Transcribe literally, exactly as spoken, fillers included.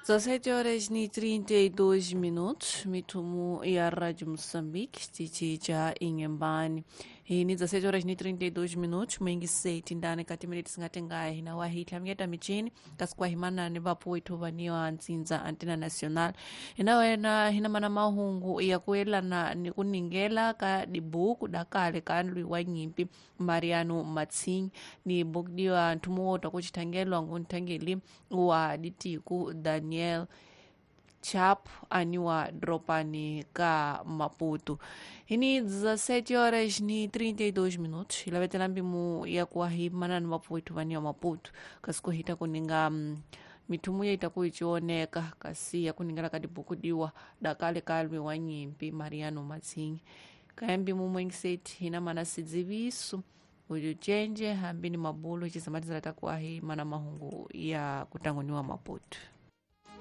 dezessete horas e trinta e dois minutos, mitumu ya Rádio Moçambique, xitichi cha Inhambane. Hini dezessete horas e trinta e dois minutos, mwingi seti ndani kati miniti singatengaye hina wahitla mngeta michini, kasi kwa himanani vapo ithovaniwa ntsinza Antena Nacional. Hina wena hina mana mahungu ya kuelana ni kuningela ka dibuku dakale ka nlwi wa nyimpi Mariano Matsinyi ni bukudiwa nthumu kuchithangelwa ngunthangeli wa ditiku Daniel Chap aniwa dropani ka Maputo. Hini dezessete horas ni trinta e dois minutos. Ilavetela mbimu ya kuwahi manani maputo vaniwa Maputo. Kasi kuhita kuninga mm, mithumu yaita kuichioneka kasi ya kuningela kadibukudiwa dakale kalwi wa nyimpi Mariano Matsinyi. Kaya mbimu mwengiseti hina mana sidziviso uyu cenje hambi ni mabulo cizamatizala takuwahi mana mahungu ya kutanguniwa Maputo.